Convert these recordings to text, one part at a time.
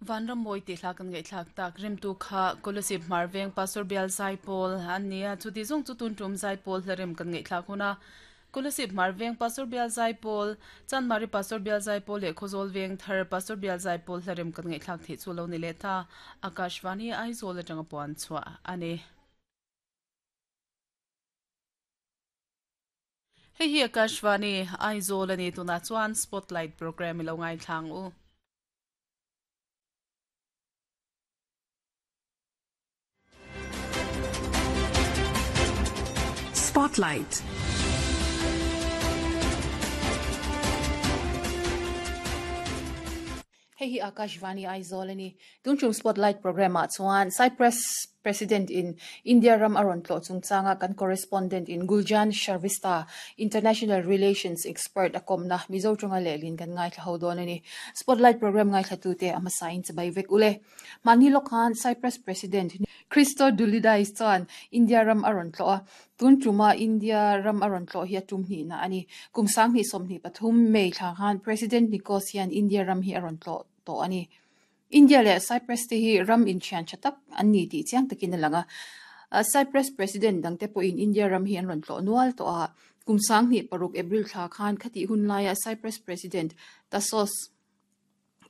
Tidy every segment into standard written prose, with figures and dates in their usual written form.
Vanrammawi tih hla kan ngaihthlak tak rimtu kha Kolasib Hmarveng Pastor Bial Zaipawl an ni a, chuti zawng chu tun tum Zaipawl hla rem kan ngaihthlak hun a. Kolasib Hmarveng Pastor Bial Zaipawl, Chanmari Pastor Bial Zaipawl leh Khawzawl Vengthar Pastor Bial Zaipawl hla rem kan ngaihthlak theih chu lo ni leh ta. Akashvani Aizawl atanga puan chhuah a ni. Hei hi Akashvani Aizawl a ni. Tunah chuan Spotlight Programme i lo ngaithla ang u. Spotlight. Hei hi Akashvani Aizawl a ni. Tun tum Spotlight programme ah chuan Cyprus President in India ram a rawn tlawh chungchanga kan correspondent in Guljan Shrivastava, International Relations expert a kawmna Mizo tawnga lehlin kan ngaithla ho dawn a ni. Spotlight programme ngaithlatute a hmasain chibai vek ule. Mahni lawk khan Cyprus President Christodoulides chuan India ram a rawn tlawh a, tun tuma India ram a rawn tlawh hi a tum hnihna a ni. Kum 2023 May thla khan President Nikos hian India ram hi a rawn tlawh tawh a ni. India leh Cyprus te hi ram inthian tha tak an ni tih chiang takin a lang a. Cyprus President dangte pawhin India ram hi an rawn tlawh nual tawh a. Kum 2006 April thla khan khatih hun laia Cyprus President Tassos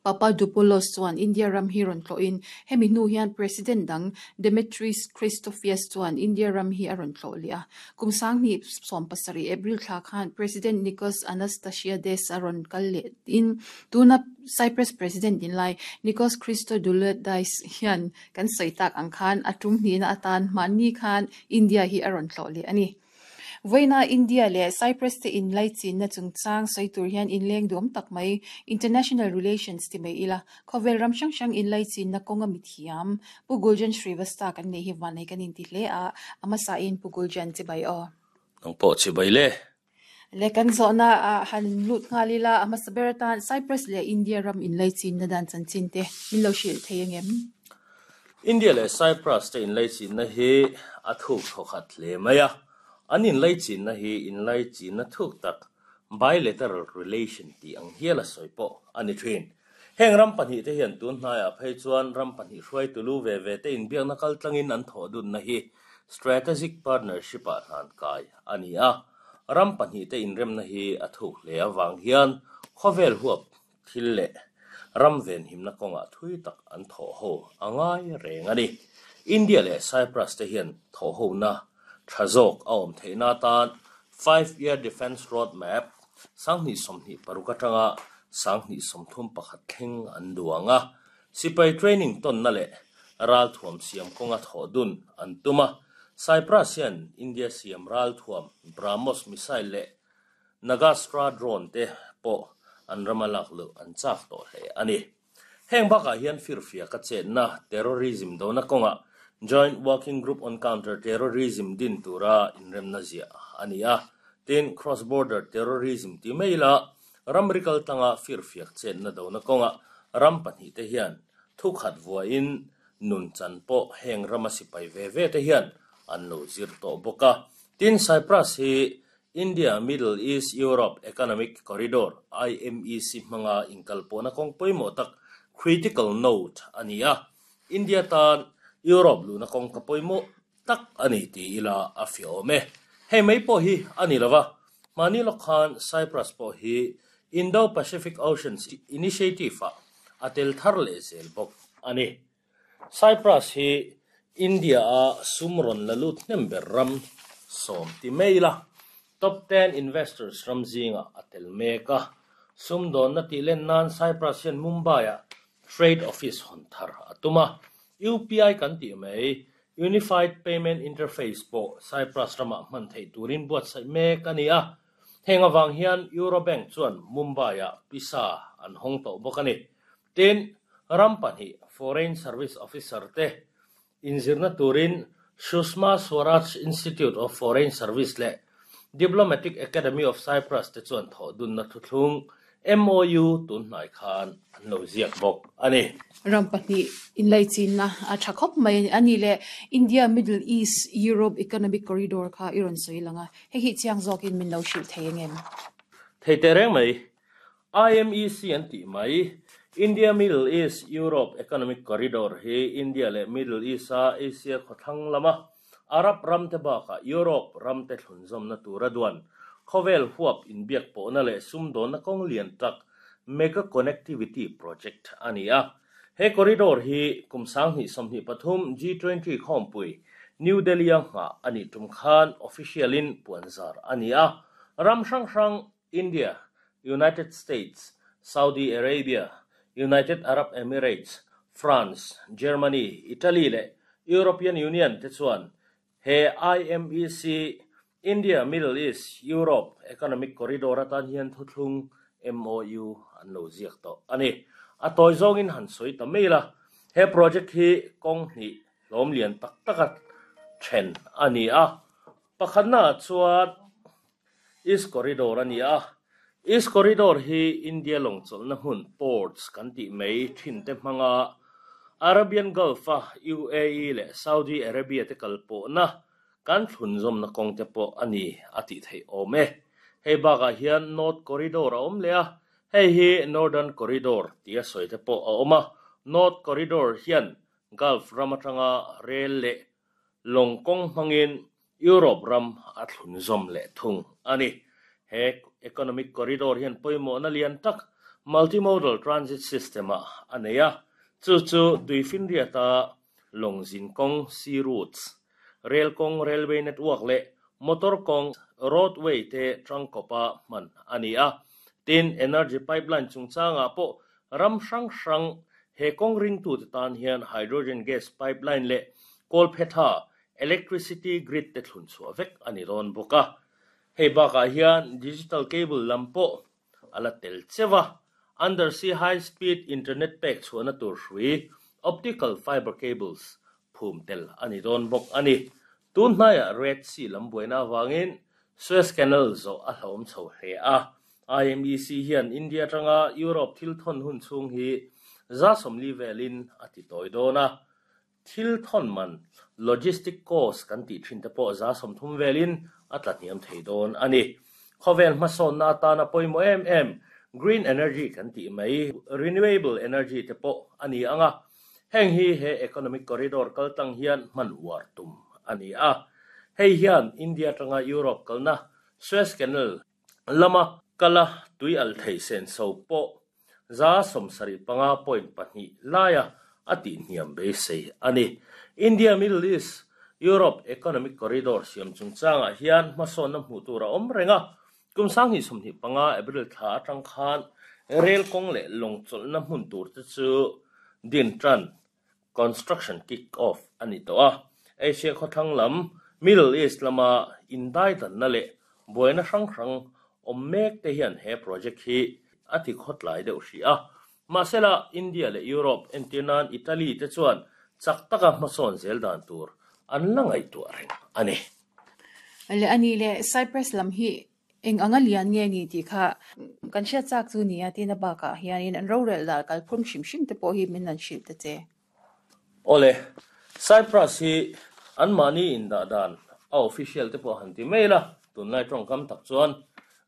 Papadopoulos chuan India ram hi rawn tlawhin hemi hnu hian President dang Demetris Christofias chuan India ram hi a rawn tlawh leh a. Kum 2017 April thla khan President Nicos Anastasiades a rawn kal leh in tuna Cyprus President din lai Nikos Christodoulides hian kan sawi tak ang khan a tum hnihna atan mahni khan India hi a rawn tlawh leh a ni. Vawiina India leh Cyprus te inlaichinna chungchang sawi tur hian inleng duam tak mai International Relations ti mai ila, khawvel ram hrang hrang inlaichinna kawnga mithiam Pu Guljan Srivastava kan neih hi vanei kan inti hle a, a hmasain Pu Guljan chibai aw. Nang pawh chibai le. Le kan zawhna ah han lut nghal ila, a hmasa ber atan Cyprus leh India ram inlaichinna dan chanchin te min lo hrilh thei angem? India leh Cyprus te inlaichinna hi a thuk thawkhat hle mai a, an inlaichinna hi inlaichinna thuk tak, bilateral relation tih ang hial a sawi pawh a ni thin. Heng ram pahnihte hian tun hnaiah phei chuan ram pahnih hruaitu lu ve ve te inbiakna kaltlangin an thawh dunna hi Strategic Partnership ah hlan kai a ni a, ram pahnihte inremna hi a thuk hle avang hian khawvel huap thil leh ram venhimna kawngah thui tak an thawh ho a ngai reng a ni. India leh Cyprus te hian thawh hona tha zawk a awm theihna atan Five Year Defence Road Map 2026 atanga 2031 thleng an duang a, Sipai training tawnna leh ralthuam siam kawnga thawh dun an tum a, Cyprus hian India siam ralthuam BrahMos missile leh Nagastra drone te pawh an rama lak luh an chak tawh hle a ni. Heng bakah hian firfiaka chetna, terrorism dona kawngah Joint Working Group on Counter Terrorism din tura inremna ziah a ni a, tin cross border terrorism ti mai ila Ramri kaltlanga firfiak chetna dona kawngah ram pahnihte hian thukhat vuahin nun chan pawh heng rama sipai ve ve te hian an lo zir tawh bawk a. Tin, Cyprus hi India Middle East Europe Economic Corridor, IMEC, hmanga inkalpawhna kawng pawimawh tak, critical node, a ni a. India tan Europe luhna kawngka pawimawh tak a ni ti ila a fiah awm e. Hei mai pawh hi a ni lo va, hmani lawk khan Cyprus pawh hi Indo-Pacific Oceans Initiative-ah a tel thar leh zel bawk a ni. Cyprus hi India-a sum rawn la lut hnem ber ram sawm ti mai ila top ten investors ram zingah a tel mek a. Sumdawnna tih len nan Cyprus hian Mumbai-ah Trade Office hawn thar a tum a. UPI kan tih mai Unified Payment Interface pawh Cyprus ramah hman theih turin buatsaih mek a ni a. Heng avang hian Eurobank chuan Mumbai-ah pisa an hawng tawh bawk a ni. Tin, ram pahnih Foreign Service Officer te inzirna turin Sushma Swaraj Institute of Foreign Service leh Diplomatic Academy of Cyprus te chuan thawh dunna thuthlung MOU tun hnai khan an lo ziak bawk a ni. Ram pahnih inlaichinna a tha khawp mai a ni le. India Middle East Europe Economic Corridor kha i rawn sawi lang a, hei hi chiang zawkin min lo hrilh thei ang em? Thei teh reng mai. IMEC an tih mai, India Middle East Europe Economic Corridor hi India leh Middle East-a Asia khawthlang lama Arab ramte bakah Europe ramte thlunzawmna tura duan khawvel huap inbiak pawhna leh sumdawnna kawng lian tak Mega Connectivity Project a ni a. He corridor hi kum 2023 G20 khawmpui New Delhi-a nghah a nih tum khan official-in puanzar a ni a. Ram hrang hrang India, United States, Saudi Arabia, United Arab Emirates, France, Germany, Italy leh European Union te chuan he IMEC, India Middle East Europe Economic Corridor atan hian thuthlung MOU an lo ziak tawh a ni. A tawi zawngin han sawi ta mai la, he project hi kawng hnih hlawm lian tak taka then a ni a. Pakhatnaah chuan East Corridor a ni a, East Corridor hi India lawng chawlhna hmun, ports, kan tih mai thin te hmanga Arabian Gulf-a UAE leh Saudi Arabia te kal pawhna kan thlunzawmna kawng te pawh a ni a tih theih awm e. Hei bakah hian North Corridor a awm leh a, hei hi Northern Corridor tia sawi te pawh a awm a. North Corridor hian Gulf ram atanga rel leh lawng kawng hmangin Europe ram a thlunzawm leh thung a ni. He economic corridor hian pawimawhna lian tak multimodal transit system-ah a nei a, chu chu Tuifinriata lawngzin kawng, sea routes, rel kawng, railway network, leh motor kawng, roadway, te tangkawpa hman a ni a. Tin, energy pipeline chungchangah pawh ram hrang hrang he kawng ringtute tan hian hydrogen gas pipeline leh kawlphetha Electricity grid te thlun chhuah vek a ni dawn bawk a, hei bakah hian digital cable lam pawh a la tel cheu a, undersea high speed internet pek chhuahna tur hrui optical fiber cables phum tel a ni dawn bawk a ni. Tun hnaiah Red Sea lam buaina avangin Suez Canal zawh a hlauhawm chho hle a, IMEC hian India atanga Europe thil thawn hun chhung hi 40 velin a ti tawi dawn a, Thil thawn man, logistic cost, kan tih thin te pawh 30% velin a tla hniam thei dawn a ni. Khawvel hmasawnna atana pawimawh em em green energy kan tih mai, renewable energy te pawh a ni ang a. Heng hi he economic corridor kal tlang hian hman uar tum a ni a. Hei hian India atanga Europe kalna Suez Canal lama kala tui alh thei senso pawh 75.2 laia a tihhniam beisei a ni. India Middle East Europe Economic Corridor siam chungchangah hian hmasawnna hmuh tur a awm reng a, kum 2025 April thla atang khan rel kawng leh lawng chawlhna hmun tur te chu din tan construction kick off a ni tawh a. Asia khawthlang lam Middle East lama indaidanna leh buaina hrang hrang awm mek te hian he project hi a ti khawtlai deuh hrih a. Mahsela India leh Europe entir nan Italy te chuan chak taka hmasawn zel dan tur an la ngaihtuah reng a ni. Le a nih leh Cyprus lam hi Eng anga lian nge ni tih kha kan hriat chak chu nia tina bakah hianin an rorel dan kalphung hrim hrim te pawh hi min han hrilh ta che. Awle, Cyprus hi anmahni indah dan a official te pawh han ti mai la, tunlai tawngkam tak chuan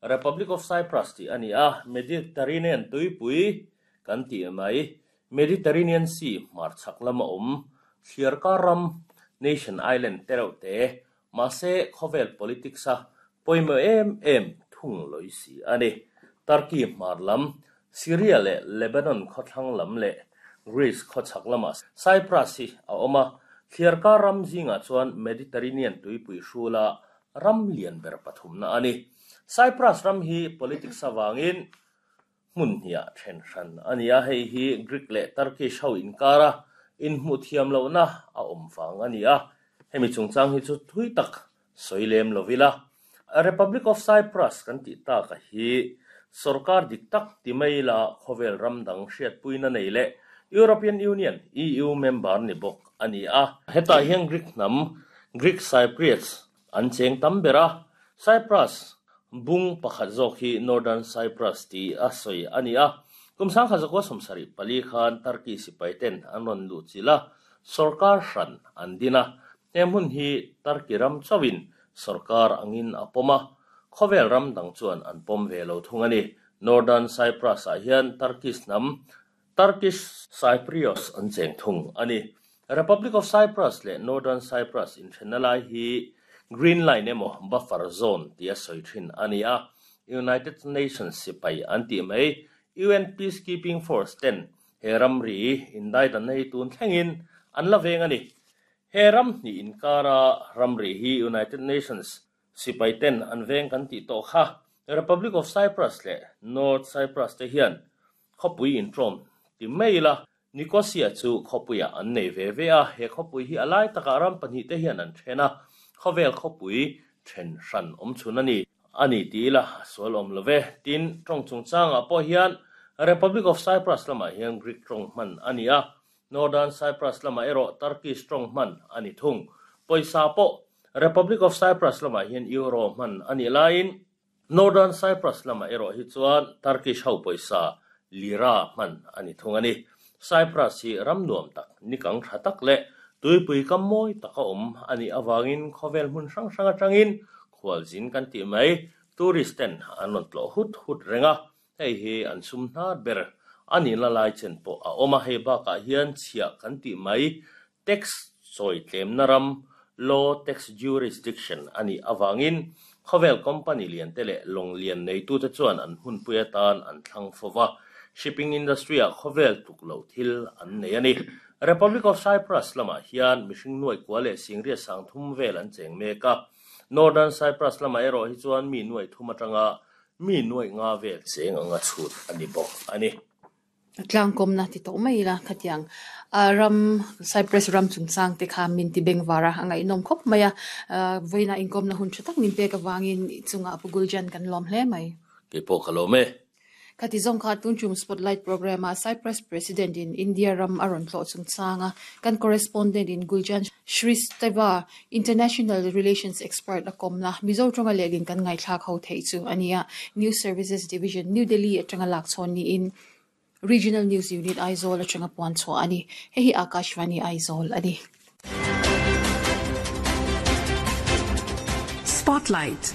Republic of Cyprus tih a ni a, Mediterranean tuipui kan tih mai, Mediterranean Sea hmarchhak lama awm thliarkar ram, nation island te reuh te Mahse, khawvel politics a pawimawh em em thung lawi si a ni. Turkey hmar lam, Syria leh Lebanon khawthlang lam leh Greece khawchhak lamah Cyprus hi a awm a, thliarkar ram zingah chuan Mediterranean tuipui hrula ram lian ber pathumna a ni. Cyprus ram hi politics avangin hmun hniah then hran a ni a, hei hi Greek leh Turkish ho inkara inhmuh thiam lohna a awm vang a ni a, hemi chungchang hi chu thui tak sawi lem lo ila. Republic of Cyprus kan tih taka hi sorkar dik tak ti mai ila khawvel ram dang hriatpuina nei leh European Union, EU, member ni bawk a ni a. Hetah hian Greek hnam, Greek Cypriots, An cheng tam ber a, Cyprus bung pakhat zawk hi Northern Cyprus tih a sawi a ni a. Kum 1974 khan Turkey sipai ten an rawn luh chilh a, sorkar hran an din a. He hmun hi Turkey ram chauhin sorkar angin a pawm a, khawvel ram dang chuan an pawm ve lo thung a ni. Northern Cyprus ah hian Turkish hnam, Turkish Cypriots, an cheng thung a ni. Republic of Cyprus leh Northern Cyprus inthenna lai hi Green Line emaw Buffer Zone tia sawi thin a ni a, United Nations sipai an tih mai UN Peacekeeping Force ten he ramri indaidanna hi tun thlengin an la veng a ni. He ram hnih inkara ramri hi United Nations sipai ten an veng kan tih tawh kha. Republic of Cyprus leh North Cyprus te hian khawpui intrawm ti mai ila Nicosia chu khawpuiah an nei ve ve a, he khawpui hi a lai takah ram pahnihte hian an then a, khawvel khawpui then hran awm chhun a ni. A ni ti ila a sual awm lo ve. Tin, tawng chungchangah pawh hian Republic of Cyprus lamah hian Greek tawng hman a ni a, Northern Cyprus lamah erawh Turkish tawng hman a ni thung. Pawisa pawh Republic of Cyprus lamah hian Euro hman a nih laiin Northern Cyprus lamah erawh hi chuan Turkish ho pawisa lira hman a ni thung a ni. Cyprus hi ram nuam tak, nikang tha tak leh tuipui kam mawi taka awm a nih avangin khawvel hmun hrang hrang atangin khualzin kan tih mai tourist ten an rawn tlawh hut hut reng a, hei hi an sum hnar ber a nihna lai chen pawh a awm a, hei bakah hian chhiah kan tih mai Tax chawi tlemna ram, Low Tax Jurisdiction, a nih avangin khawvel company lian te leh lawng lian neitute chuan an hmunpui atan an thlang fo va, shipping industry-ah khawvel tluk loh thil an nei a ni. Republic of Cyprus lamah hian mihring nuaih kua leh singriat sang thum vel an cheng mek a, Northern Cyprus lamah erawh hi chuan mi nuaih thum atanga mi nuaih nga vel cheng anga chhut a ni bawk a ni. Tlangkawmna ti tawh mai ila khatiang ram Cyprus ram chungchang te kha min ti beng var a, a ngaihnawm khawp mai a, vawiinah inkawmna hun tha tak min pek avangin i chungah Pu Guljan kan lawm hle mai. Kei pawh ka lawm e. Khati zawng kha tun tum Spotlight programme ah Cyprus President in India ram a rawn tlawh chungchang a, kan correspondent in Guljan Shristeva, International Relations expert a kawmna Mizo tawnga lehlin kan ngaithlak ho theih chu a ni a, News Services Division, New Delhi atanga lak chhawn niin Regional News Unit, Aizawl atanga puan chhuah a ni. Hei hi Akashvani Aizawl a ni. Spotlight.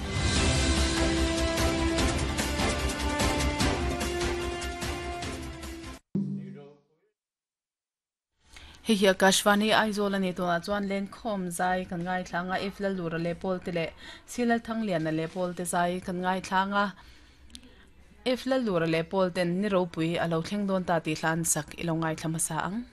Hei hi Akashvani Aizawl a ni tunah chuan Lenkhawm zai kan ngaithlang a, If Lalura leh Pawl te leh Silal Thangliana leh Pawl te zai kan ngaithlang a, If Lalura leh Pawl ten ni ropui a lo thleng dawn ta tih hla an sak i lo ngaithla hmasa ang.